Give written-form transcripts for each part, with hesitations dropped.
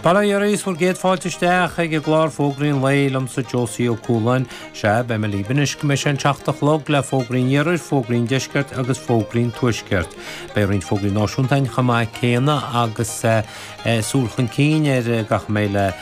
Bail ó Dhia oraibh is bhur gcéad fáilte isteach ag an gclár Fógraí an Lae liomsa Josie Ó Cualáin. Sea, beidh mé libh anois go mbeidh sé an seacht a chlog le Fógraí an Iarthair, Fógraí an Deiscirt agus Fógraí an Tuaiscirt. Beidh roinnt fógraí náisiúnta againn chomh maith céanna agus súil chun cinn ar gach a mbeidh le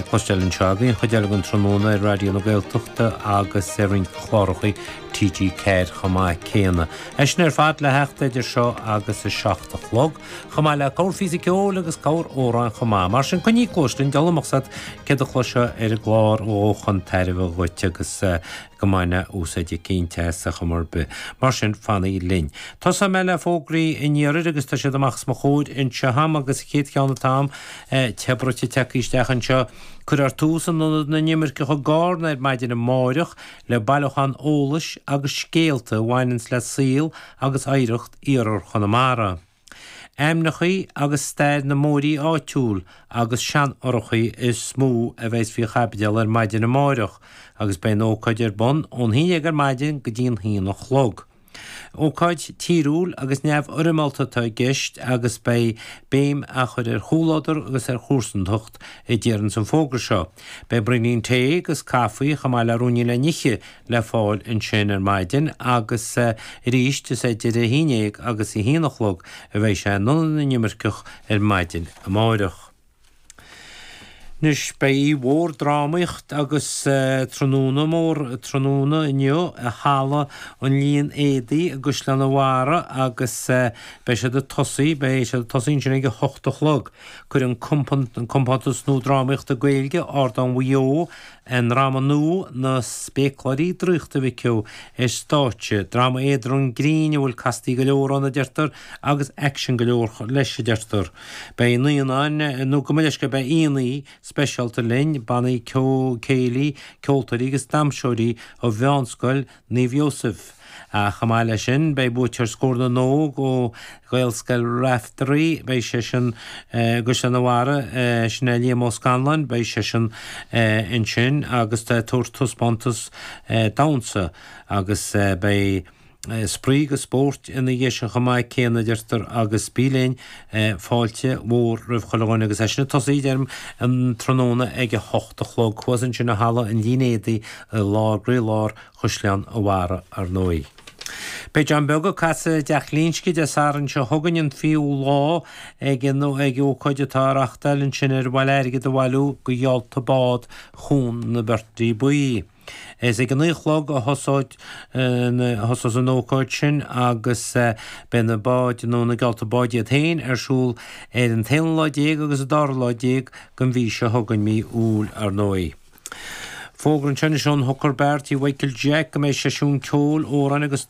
cloisteáil anseo againn, an chuid eile den tráthnóna ar Raidió na Gaeltachta agus ar roinnt cláracha TG4 chomh maith céanna. É sin ar fad le theacht idir seo agus a seacht a chlog. chomh maith le corrphíosa ceoil agus corr-amhrán chomh maith. Mar sin, coinnigh cluais linn, deabhal amach as céard a chloisfeá ar an gclár a ghabhfaidh chun tairbhe dhuit agus go mbainfeá úsáid eicínt as ar chuma ar bith. Mar sin, fanaigí linn. Tosóidh mé le fógraí an iarthair agus tá siad amach os mo chomhair anseo a'm agus an chéad cheann atá a'm te bruite tagtha isteach anseo. Cuirfear tús in Ionad na nImirceach i gCarna ar maidin amáireach le bailiúchán eolais agus scéalta a bhaineanns le saol agus oidhreacht Iarthar Chonamara. Ainmneachaí agus stair na mbóithrí áitiúil agus seanfhothrachaí is mó a bheas faoi chaibidil ar maidin amáireach agus beidh an ócáid ar bun ón haon dhéag ar maidin go dtí an haon a chlog. Ócáid tíriúil agus neamhfhoirmeálta atá i gceist agus beidh béim á chur ar chomhluadar agus ar chomharsantacht a déarfas an fógra seo. Beidh braoinín tae agus caife chomh maith le ruainnín le n-ithe le fáil ansin ar maidin agus arís is idir a haon dhéag agus a haon a chlog a bheidh sé in Ionad na nImirceach ar maidin amáireach. Anois beidh oíche mhór drámaíocht agus tráthnóna mór tráthnóna inniu i Halla an Líon Éadaí i gCaisleán an Bharraigh agus beidh siad ag tosaí, beidh siad ag tosaí ansin ag a hocht a chlog. Cuireann an compántas nua drámaíochta Gaeilge, Ardán Mhaigh Eo, A ndráma nua, Na Spéacláirí Draíochta a mhic ó, ar stáitse. Dráma éadrom grinn a bhfuil castaí go leor ann, a deirtear, agus aicsean go leor leis, a deirtear. Beidh naíonáin, nó gabh mo leithscéal, beidh aíonna speisialta linn, bannaí ceoil, céilí, ceoltóirí agus damhsóirí ó Mheánscoil Naomh Iósaef. Ach chomh maith leis sin, beidh buaiteoir Scór na nÓg ó Ghaelscoil Raifteirí, beidh seisean i gCaisleán an Bharraigh, sin é Liam Ó Scanláin, beidh seisean ansin agus ag tabhairt taispeántas damhsa agus beidh spraoi agus spórt ina dhiaidh sin chomh maith céanna, a deirtear, agus bí linn, fáilte mhór roimh chuile dhuine agus é sin ag tosaí, deirim, an tráthnóna ag a hocht a chlog thuas ansin i Halla an Lín Éadaí i lár, gcroílár Chaisleán an Bharraigh, ar ndóigh. Beidh John Beag ag casadh i dTeach Ghlinsce Dé Sathairn seo chugainn, an 20ú lá, ag an ag ócáid atá á reachtáil ansin ar mhaith le airgead a bhailiú do gheallta bád Chuan na Beirtrí Buí. Is ag a naoi a chlog a thosóidh a thosós an ócáid sin agus beidh na báid nó na geallta báid iad féin ar siúl ar an t-aonú lá déag agus an dara lá déag den mhí seo chugainn, mí Iúil, ar ndóigh. Fógra anseo anois ón Hooker Bar, tí Mhichael Jack, go mbeidh seisiún ceoil, amhráin agus.